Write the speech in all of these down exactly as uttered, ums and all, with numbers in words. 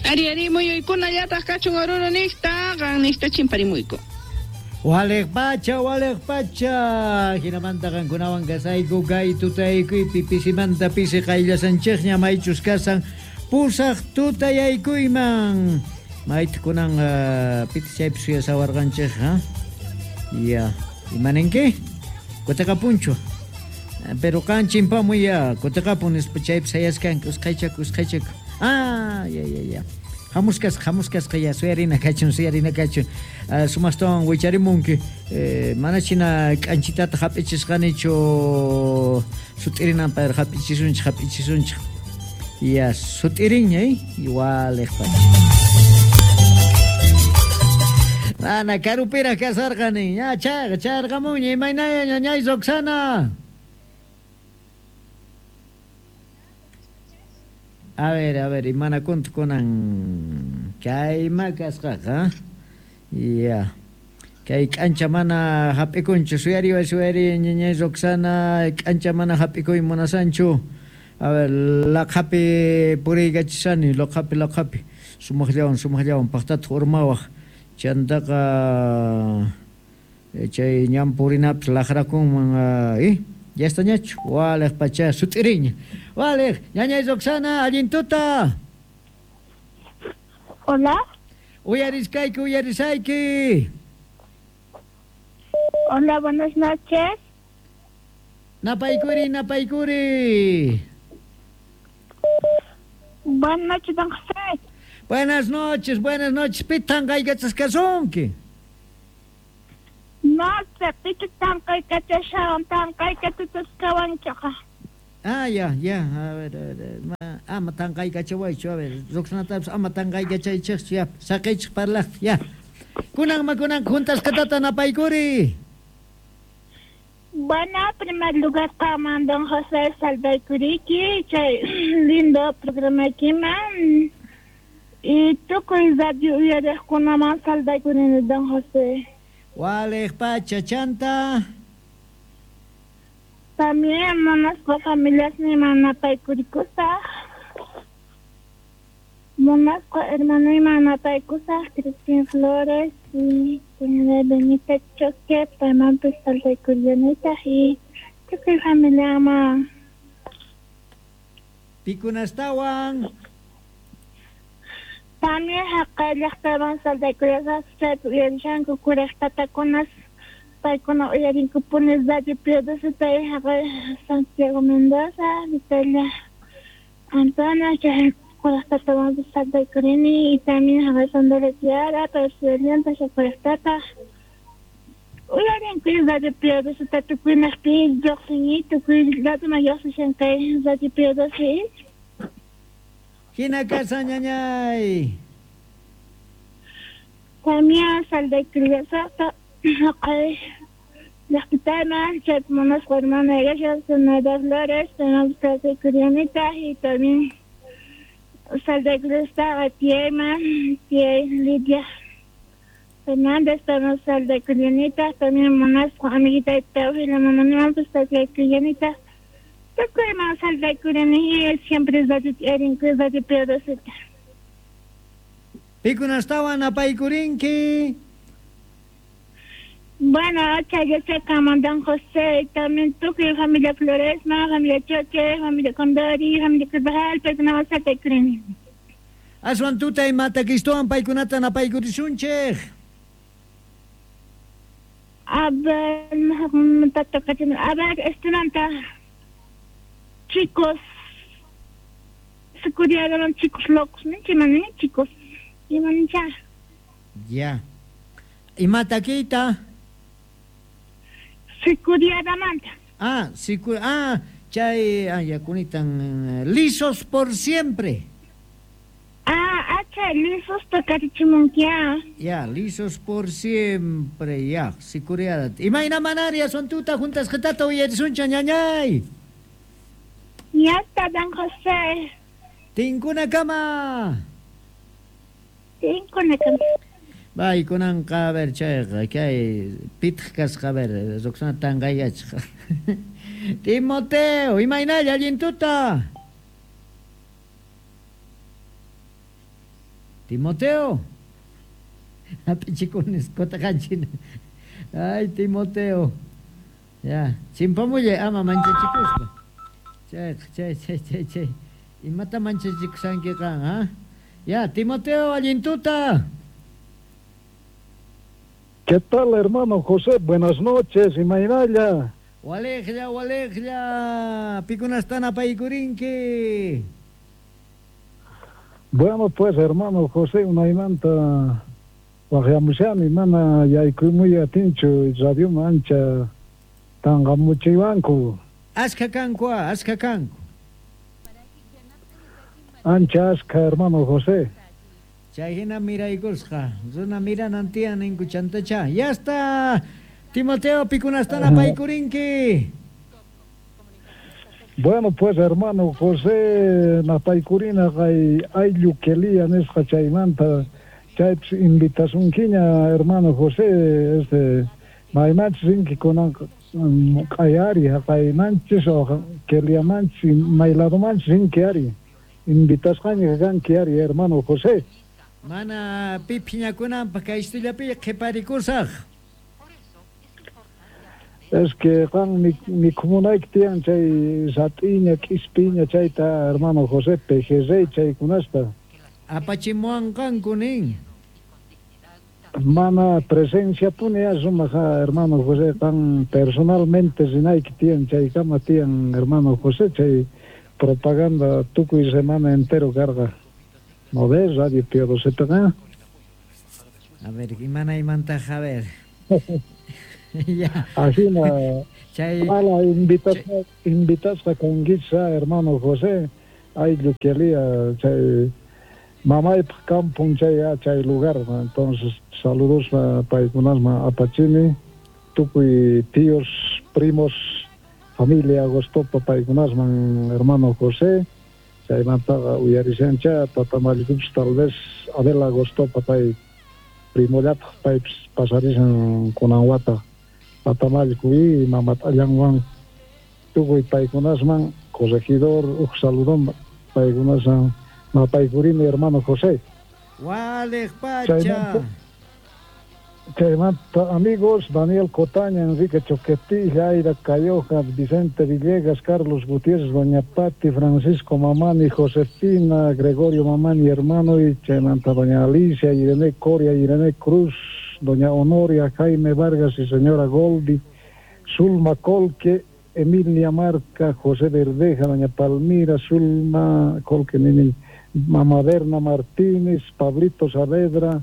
Ari ari muyuykunallataq kachun Oruro niqta, qan niqta chimparimuyku. Waliq pacha, waliq pacha. Hinamanta qankunawan kasayku kay tutayaykuypi pisimanta pisi qayllasanchikña maychus kasan pusaq tutayaykuyman. Mayta kunan uh, piti chaypi suyasawarqanchik, ha? Ya, imaninki? Kutiqapunchu. Pero qan chimpamuy ya, kutiqapun nispa chaypi sayaskanki usqhaychaku usqhaychaku. Ah, ya ya ya. Hamuskasqa, hamuskasqa ya, suyarina kachun, suyarina kachun. Uh, sumastawan wicharimunki. Eh, mana china k'anchitata hap'ichisqanichu sut'irinanpaq hap'ichisunchik, hap'ichisunchik. Ya, sut'irinña, eh? Waliq pacha. Ana karupiraq kasarqani. Ya, chayqa, chayarqamunña. Imaynaya ñañay Roxana? A ver, a ver, imanakunta kunan kayma kasqaqa. Ya. Kay k'ancha mana hap'ikunchu. Suyariway, suyariway ñañay Roxana, k'ancha mana hap'ikuy munasanchu. A ver, laqhapi puriykachisani, laqhapi, laqhapi. Sumaqllawan, sumaqllawan paqtataq urmawaq. Chantaqa chay ñan purinapis laqrakunman, eh? Ya está ñachu. Waliq pacha, sut'iriña. Waliq, ñañay Roxana, allin tuta. Hola. Uyariskayki, uyarisayki. Hola, buenas noches. Napaykuri, napaykuri. Buenas noches, don José. Buenas noches, buenas noches. Pitan qaykachasqasunki. No sé, pichu tanqaykachashawan, tanqaykachasqawanchaqa. Ah, ya, ya, a ver, a ver, ma, ama tanqaykachawaychu, a ver, Roxanatapis ama tanqaykachaychikchu, ya, saqiychik parlaqta, ya. Kunanma kunan juntasqatata napaykuri. Bueno, en primer lugar, qamman don José saldaykuriki, chay lindo programaykiman. Y tukuy radio uyariqkunaman saldaykurini, don José. Waliq pacha, chanta. También munasqa familiasniyman napaykurikkusaq. Munasqa hermanuyman napaykusaq, Cristín Flores y señora Benita Choque, paymanpis saldaykuryanitaq y tukuy familiaman. Pikunastawan. También haqay llaqtaman saldaykuriyasaq, chaypi uyarishanku kuraq tatakunas, paykuna uyarinkupuni Radio Piedosita y haqay Santiago Mendoza, Vitalia Antona, chay kuraq tatamanpis saldaykurini y también haqay Sandra Tiara, Percielienta, chay kuraq tata. Uyarinku Radio Piedosita tukuynaqpi lluqsini, tukuy ladoman lluqsishan kay Radio Piedosita. Hina kasa ñañay. También saldaykuriyasaqta haqay llaqtitaman, chaypi munasqa hermana Iglesia, Zenaida Flores, paymanpis saldaykuryanitaq y también saldaykuriyasqa tiyayman, tiyay Lidia Fernández, payman saldaykuryanitaq, también munasqa amiguita Teofila mamanimanpis saldaykuryanitaq. Tukuyman saldaykurini, siempre radio erinku, radio Piedosita. Pikunastawan apaykurinki. Bueno, chayachakaman don José, y también tukuy familia Floresma, familia Choque, familia Condori, familia Carvajal, paykunawan saldaykurini. Aswan tuta imatakistuwan paykunata napaykurisunchik. A ver, a ver, estimanta. Chicos, se curiaron chicos locos, ¿no? Chimani, chicos. Imancha. Ya. Imataquita. Sicuriadamanta. Ah, sicu ah, chay, ah, ya kunitan lisos por siempre. Ah, ah, lisos tocarichimunkia. Ya, lisos por siempre, ya, sicuriada. Imayna manaria son tuta juntas qatata uyarisuncha ñañay. Ya está, don José. Tinkuna kama. Tinkuna kama. Bay, kunanqa, a ver, chayqa, kay pitaq kasqa, a ver, Roxana tanqayachqa. Timoteo, imaynalla allin tuta. Timoteo. Apichikunis kotaqanchina. Ay, Timoteo. Ya, chimpamullay ama manchachikuspa. Chay, chay, chay, chay, chay. Imata manchachikushanki qan, ha? Ya, Timoteo, allin tuta. ¿Qué tal, hermano José? Buenas noches, imaynalla. Walejlla, walejlla. Pikunastan apaykurinki. Bueno, pues, hermano José, unaymanta waqyamushani, mana yaykumuy atinchu radio mancha tanqamuchiwanku. Askha kanku, askha kanku. Ancha askha, hermano José. Chay hina miraykusqa, runa miranan tiyan ninku chantacha. Ya está, Timoteo, pikunastan apaykurinki. Bueno, pues, hermano José, napaykurina kay ayllu kelia nisqa chaymanta, chaypis invitasunkiña, hermano José, este, maymanchis rinki kunan q'ayari, haqaymanchis o keliamanchis, mayladomanchis rinki ari, invitasqaña kanki ari, hermano José. Mana pi phiñakunanpaq kay istullapi qhiparikusaq. Es que qan mikhumunayki tiyan chay sat'iña, k'ispiña chayta, hermano José, pejerrey chaykunasta. Apachimuwanqanku nin. Mana presencia puni sumaq, hermano José, qan personalmente rinayki tiyan chaykama tiyan, hermano José, chay propaganda tukuy semana entero carga. ¿No ves? Radio Pío doce? A ver, imanaymantaq, a ver. Ya. Así na, Chay, mala invitasqa, invitasqa kankichis, hermano José, ayllu kelia, chay mamaypaq kampun chay chay lugar, entonces saludos paykunasman apachini, tukuy tíos, primos, familia Agostopa paykunasman, hermano José, chaymantaqa uyarishancha tatamallikupis tal vez Adela Agostopa pay primollataq paypis pasarishan kunan wata tatamalliku y mamat'allanwan tukuy paykunasman corregidor uj saludón paykunasman mapaykurini, hermano José. Waliq pacha. Chaymanta amigos, Daniel Cotaña, Enrique Choquetilla, Aida Cayoja, Vicente Villegas, Carlos Gutiérrez, Doña Pati, Francisco Mamani, Josefina, Gregorio Mamani, hermano, y chaymanta Doña Alicia, Irene Coria, Irene Cruz, Doña Honoria, Jaime Vargas y señora Goldi, Zulma Colque, Emilia Marca, José Verdeja, Doña Palmira, Zulma Colque, Nini, Mamá Berna Martínez, Pablito Saavedra,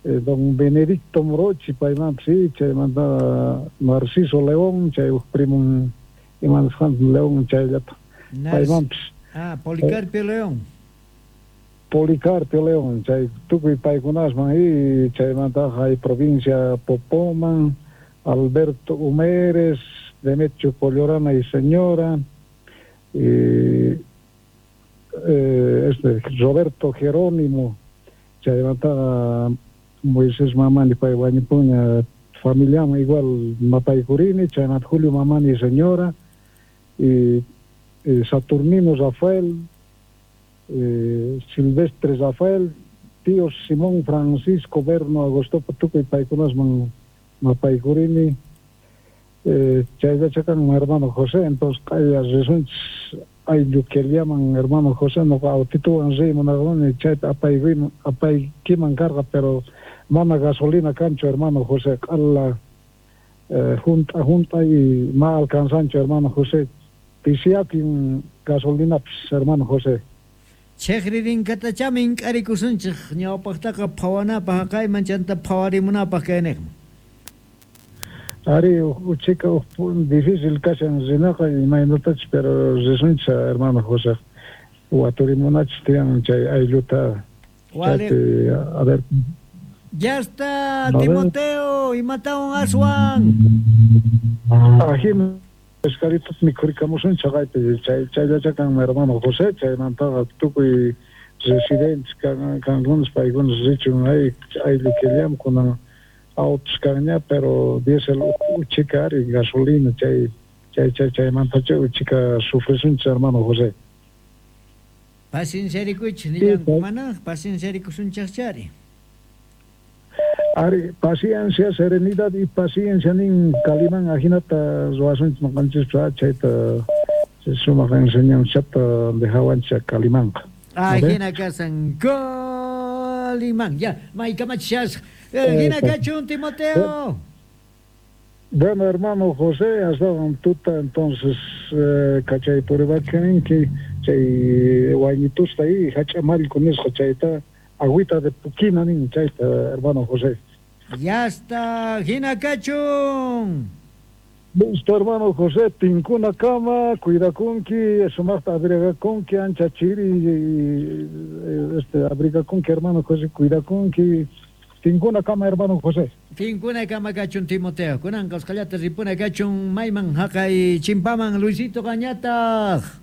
eh, don Benedicto Morochi, paymanpis, sí, chaymanta Narciso León, chay uj primun imanasqanta León chayllata, paymanpis. Ah, Policarpio eh, León. Policarpio León, chay tukuy paykunasman y chaymanta hay provincia Popoman, Alberto Humeres, Demetrio Collorana y señora, y eh, este Roberto Jerónimo, chaymanta Moisés Mamani pay wañupuña familiaman igual mapaykurini, chaymanta Julio Mamani y señora, y, y Saturnino Rafael, eh, Silvestre Rafael, tío Simón Francisco Berno Agostopa tukuy paykunasman mapaykurini, eh, chayllachakan hermano José, entonces q'aya risunchis ayllu keliaman hermano José, noqa autituwan riy munarqani chayta apaykuyman apaykiman karqa, pero mana gasolina kanchu, hermano José, q'ala eh, junta junta y ma alcanzanchu, hermano José, pisiyakin gasolinapis, hermano José. Chejririnkatachami ink'arikusunchik ñawpaqtaqa phawanapaq haqayman chanta phawarimunapaq kayniqman. Ari, uchika difícil kashan rinaqa imaynatachis, pero risunchis, hermano José, waturimunachis tiyan chay aylluta. Chaypi, a ver. Ya está, Timoteo, imatawan aswan. Ajina pescaditos mikhurikamusun chaqaypi, chay chayllachakan hermano José, chaymantaqa tukuy residentes kankunas paykunas richun ay ayllu kellam kunan autos kanña, pero diésel uchika ari gasolina chay chay chay chaymantacha uchika sufrisunchis, hermano José. Pacienciarikuychis nillanku mana pacienciarikusunchaqchari. Ari, paciencia, serenidad y paciencia nin Calimán ajinata ruwasunchis noqanchispas chayta sumaq enseñanzata dejawanchis Calimanqa. Ajina kasan Calimán. Ya, maykamachishasqa. Hina kachun Timoteo. Bueno, hermano José, hasta tuta entonces eh, kachay puribachaninki chay wayñitusta y hach'amallku nisqa chayta agüita de puquina nin chayta, hermano José. Ya está, hina kachun. Listo, hermano José, tinkuna kama, cuidakunki, sumaqta abrigakunki, ancha chiri, este, abrigakunki, hermano José, cuidakunki, tinkuna kama, hermano José. Tinkuna kama kachun, Timoteo. Kunanqa usqhallata ripuna kachun, mayman haqay chimpaman, Luisito Qañataq.